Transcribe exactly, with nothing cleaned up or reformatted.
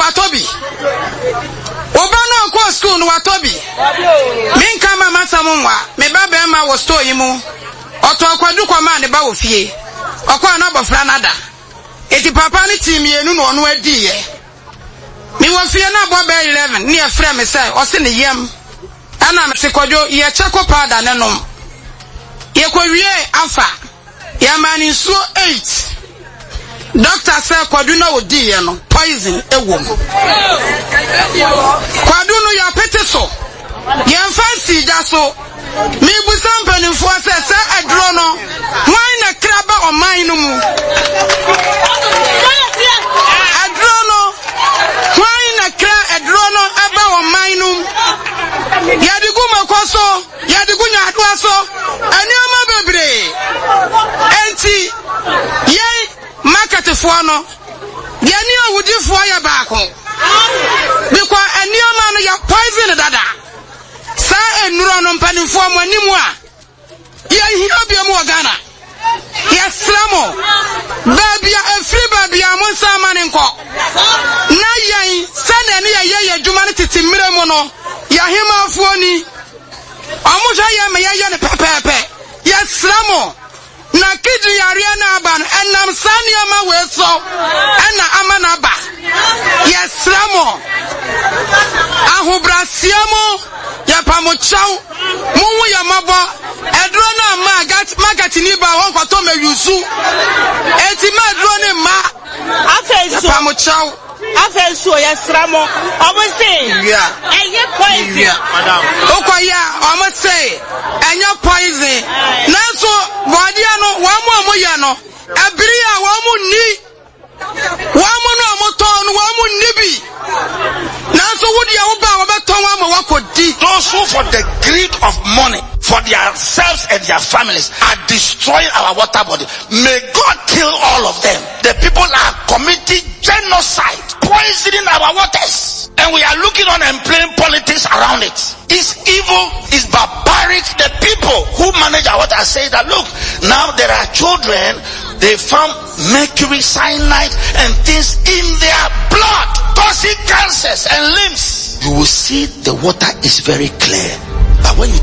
watɔ bi. Wo ba no a ɔkɔɔ sukuu no watɔ bi. Menka mma m'asɛm nwa, me ba barima wɔ store yi mu. Ɔtɔɔ kwadu kɔmaa ne ba wɔ fie. Ɔkɔɔ na abɔfra no ada. Enti papa no tee mmienu na ɔno adiiɛ. Mewɔ fie na abɔ bɛyɛ eleven ne yɛfrɛ me sɛ ɔse ne yam. Ɛna mese Kwadwo yɛ charcoal powder no nom. Yɛkɔwiee afa. Yɛmaa no nsuo eight. Doctor sɛ kwadu no a ɔdiiɛ no poison wɔ mu. Kwadu no yɛapete so. Yɛmfa nsii gya so. Mebusa mpanimfoɔ sɛ sɛ aduro no hwan na kra ba ɔman no mu? Aduro no hwan na kra aduro no ba ɔman no mu? Yɛde gu mako so. Yɛde gu nyaadoa so, nneɛma bebree. Enti yɛn marketfoɔ no, yɛne awudifoɔ yɛ baako. Because nneɛma no yɛ poison dada. Saa nnuro no mpanimfoɔ mo anim a, yɛnhia biom wɔ Ghana. Yɛsrɛ mo, baabi a ɛfiri baabi a monsan mma no nkɔ. Na yɛn, sɛdeɛ ne yɛyɛ yɛn adwuma no tete mmerɛ mu no, yɛn ahemmafoɔ ni. Wɔhwɛ yɛn ma yɛyɛ no pɛpɛɛpɛ. Yɛsrɛ mo, na kidney yareɛ no aba no, ɛnam saa nneɛma wei so ɛna ama no aba. Yɛsrɛ mo, ahobrɛaseɛ mu, yɛpa mo kyɛw, monhu yɛn mmɔbɔ. Aduro no amma a, marketni ba hɔ nkɔtɔ mmɛyusu. Enti ma aduro no mma. Afei nso, Yɛpa mo kyɛw. Afei nso yɛsrɛ mo, ɔmo se ɛnyɛ poison. Wokɔ yɛ a, ɔmo se ɛnyɛ poison. Nanso bɔɔdeɛ no, wɔn a wɔyɛ no, ɛbere a wɔn nni. Wɔn no a wɔtɔn no, wɔn nni bi. Nanso wo deɛ wo ba a wɔbɛtɔn ama wakɔdi. Those who for the greed of money, for themselves and their families, are destroying our water body. May God kill all of them. The people are committing genocide, poisoning our waters. And we are looking on and playing politics around it. It's evil, it's barbaric. The people who manage our water say that, look, now there are children, they found mercury, cyanide, and things in their blood, causing cancers and limbs. You will see the water is very clear. But when you